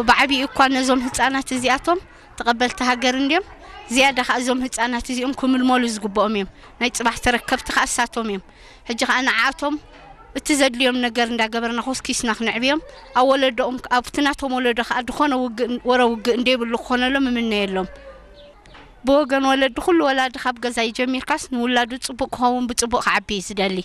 ብዓብዩ እኳ ነዞም ህፃናት እዚኣቶም ተቐበልቲ ሃገር እንድዮም። ዝያዳ ከዓ እዞም ህፃናት እዚኦም ክምልመሉ ዝግብኦም እዮም። ናይ ፅባሕ ተረከብቲ ከዓ እሳቶም እዮም። ሕጂ ከዓ ንዓኣቶም እቲ ዘድልዮም ነገር እንዳገበርና ኮስኪስና ክነዕብዮም፣ ኣብ ወለዶኦም፣ ኣብቲ ናቶም ወለዶ ከዓ ዝኾነ ውግእ፣ ወረ ውግእ እንደይብሉ ክኾነሎም እምነየሎም። ብወገን ወለዲ፣ ኩሉ ወላዲ ካብ ገዛ ይጀሚርካስ ንውላዱ ጽቡቕ ክኸውን ብጽቡቕ ክዓቢ እዩ ዝደሊ።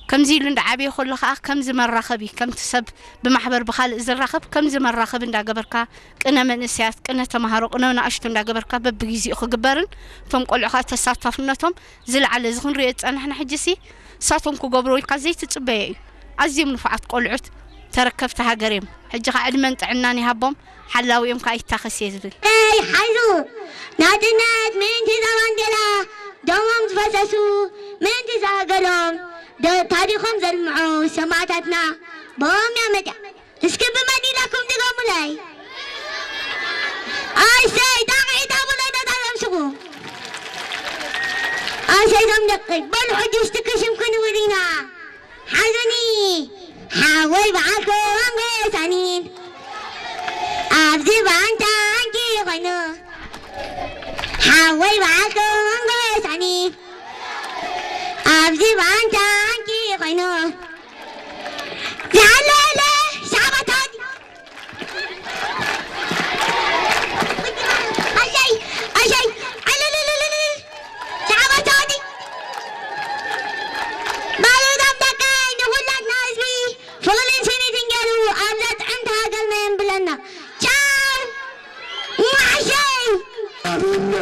ከምዚ ኢሉ እንዳዓበየ ከሎ ከዓ ከምዚ መራኸቢ፣ ከምቲ ሰብ ብማሕበር ብኻልእ ዝራኸብ፣ ከምዚ መራኸቢ እንዳገበርካ ቅነ መንእሰያት፣ ቅነ ተማሃሮ፣ ቅነ ናእሽቱ እንዳገበርካ በብግዜኡ ክግበርን እቶም ቆልዑ ከዓ ተሳታፍነቶም ዝለዓለ እዚ ክንሪኦ ዝጸናሕና ሕጂሲ እሳቶም ክገብርዎ ኢልካ ዘይትጽበዮ እዩ። ኣዝዮም ንፉዓት ቆልዑት ተረከብቲ ሃገር እዮም። ሕጂ ከዓ ዕድመን ጥዕናን ይሃቦም፣ ሓላዊኦም ከዓ ይታኸስ እየ ዝብል። ይ ሓይዙ ናጽነት ምእንቲ እዛ ባንዴራ ደሞም ዝፈሰሱ፣ ምእንቲ እዛ ሃገሮም ደ-፣ ታሪኾም ዘልምዑ ሰማእታትና ብኦም እያ መጽያ። እስኪ ብመን ኢላኩም ድገሙለይ። ኣሰይ ጣቕዒት ኣብለይ ተዛረብስኹ። ኣሰይ ዞም ደቂ በሉ ሕጂ እስቲ ክሽም ክንብል ኢና። ሓዙኒ ሓወይ በዓልኩም ገሳኒን ኣብዚ ባንታ ኣንኪ ኮይኑ፣ ሓወይ በዓልኩም ገሳኒን ኣብዚ ባንታ ኣንኪ ኮይኑ፣